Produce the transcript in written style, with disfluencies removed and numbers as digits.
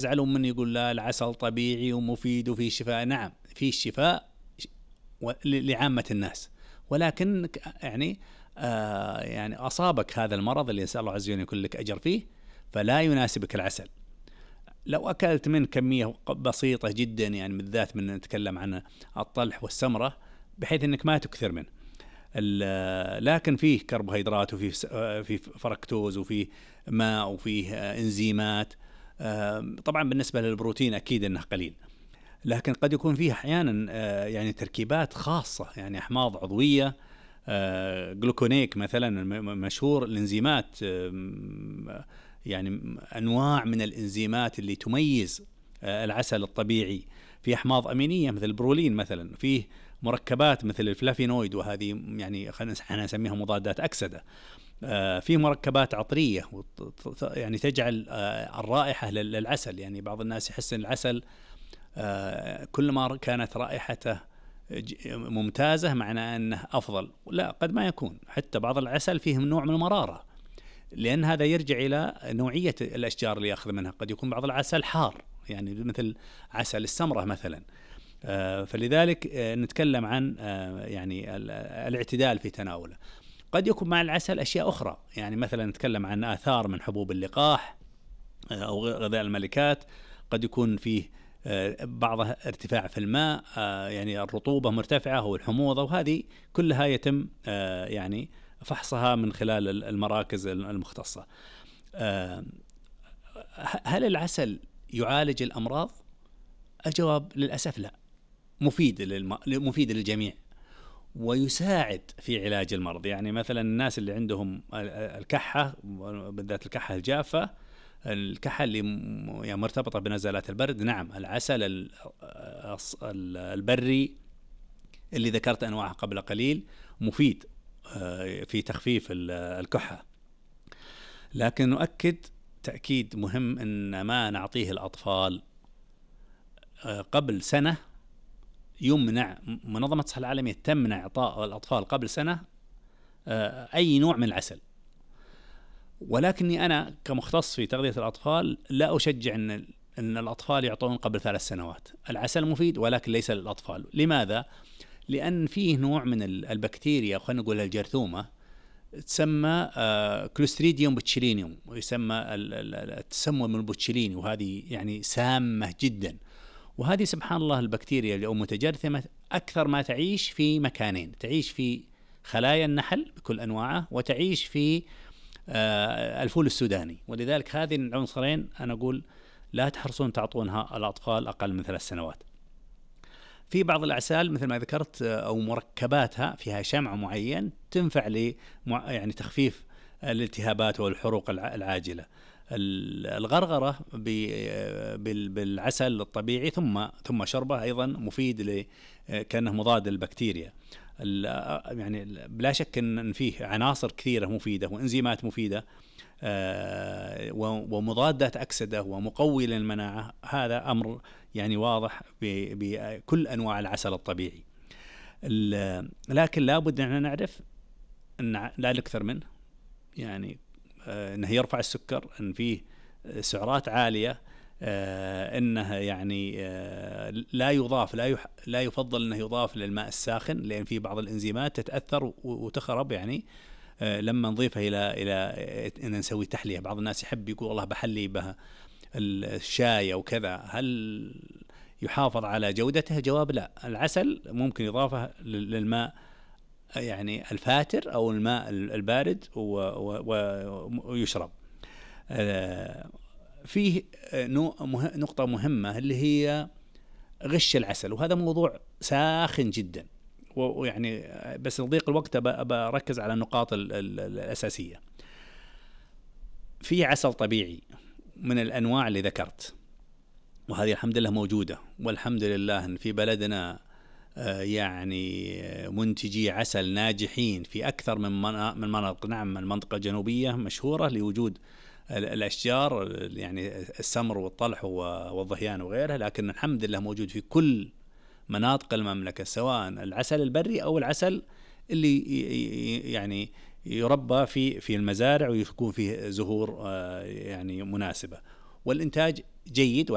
يزعلون من يقول لا العسل طبيعي ومفيد وفيه شفاء. نعم فيه شفاء لعامة الناس، ولكن يعني أصابك هذا المرض اللي يسأل الله عز وجل يكون لك أجر فيه، فلا يناسبك العسل. لو أكلت من كمية بسيطة جدا، يعني بالذات من نتكلم عن الطلح والسمرة، بحيث أنك ما تكثر منه. لكن فيه كربوهيدرات وفيه فركتوز وفيه ماء وفيه إنزيمات. طبعا بالنسبة للبروتين أكيد أنه قليل، لكن قد يكون فيه أحيانا يعني تركيبات خاصة، يعني أحماض عضوية، جلوكونيك مثلا مشهور. الإنزيمات يعني أنواع من الإنزيمات اللي تميز العسل الطبيعي. في أحماض أمينية مثل البرولين مثلا، فيه مركبات مثل الفلافينويد، وهذه يعني خلينا نسميها مضادات أكسدة. في مركبات عطرية يعني تجعل الرائحة للعسل. يعني بعض الناس يحس أن العسل كل ما كانت رائحته ممتازة معناه أنه أفضل. لا، قد ما يكون حتى بعض العسل فيه نوع من المرارة، لأن هذا يرجع إلى نوعية الأشجار اللي يأخذ منها. قد يكون بعض العسل حار، يعني مثل عسل السمرة مثلا. فلذلك نتكلم عن يعني الاعتدال في تناوله. قد يكون مع العسل أشياء أخرى، يعني مثلا نتكلم عن آثار من حبوب اللقاح أو غذاء الملكات. قد يكون فيه بعضها ارتفاع في الماء، يعني الرطوبة مرتفعة والحموضة، وهذه كلها يتم يعني فحصها من خلال المراكز المختصة. هل العسل يعالج الأمراض؟ الجواب للأسف لا. مفيد للجميع ويساعد في علاج المرض. يعني مثلا الناس اللي عندهم الكحة، بالذات الكحة الجافة، الكحة اللي يعني مرتبطة بنزلات البرد، نعم العسل البري اللي ذكرت أنواعه قبل قليل مفيد في تخفيف الكحة. لكن نؤكد تأكيد مهم أن ما نعطيه الأطفال قبل سنة. يمنع منظمة الصحة العالمية تمنع إعطاء الأطفال قبل سنة أي نوع من العسل. ولكني أنا كمختص في تغذية الأطفال لا أشجع أن الأطفال يعطون قبل 3 سنوات. العسل مفيد ولكن ليس للأطفال. لماذا؟ لأن فيه نوع من البكتيريا، خلينا نقول الجرثومة، تسمى كلوستريديوم بوتشيلينيوم، ويسمى التسمم البوتشيليني، وهذه يعني سامة جدا. وهذه سبحان الله البكتيريا اللي متجرثمة أكثر ما تعيش في مكانين: تعيش في خلايا النحل بكل أنواعه، وتعيش في الفول السوداني. ولذلك هذه العنصرين أنا أقول لا تحرصون تعطونها الأطفال أقل من 3 سنوات. في بعض الأعسال مثل ما ذكرت أو مركباتها فيها شمع معين تنفع يعني تخفيف الالتهابات والحروق العاجلة. الغرغرة بالعسل الطبيعي ثم شربه أيضا مفيد كأنه مضاد للبكتيريا. يعني بلا شك أن فيه عناصر كثيرة مفيدة وإنزيمات مفيدة ومضادات أكسدة ومقوي للمناعة. هذا أمر يعني واضح بكل أنواع العسل الطبيعي. لكن لابد أن نعرف أن لا نكثر منه، يعني أنه يرفع السكر، أن فيه سعرات عالية، أنه يعني لا يفضل أنه يضاف للماء الساخن، لأن فيه بعض الإنزيمات تتأثر وتخرب. يعني لما نضيفه إلى أن نسوي تحلية، بعض الناس يحب يقول والله بحلي بها الشاي أو كذا، هل يحافظ على جودته؟ جواب لا. العسل ممكن إضافة للماء يعني الفاتر أو الماء البارد ويشرب. فيه نقطة مهمة اللي هي غش العسل، وهذا موضوع ساخن جدا، ويعني بس لضيق الوقت بركز على النقاط الأساسية. في عسل طبيعي من الأنواع اللي ذكرت، وهذه الحمد لله موجودة، والحمد لله أن في بلدنا يعني منتجي عسل ناجحين في أكثر من مناطق. نعم المنطقة الجنوبية مشهورة لوجود الأشجار، يعني السمر والطلح والظهيان وغيرها، لكن الحمد لله موجود في كل مناطق المملكة، سواء العسل البري أو العسل اللي يعني يربى في المزارع ويكون فيه زهور يعني مناسبة، والإنتاج جيد.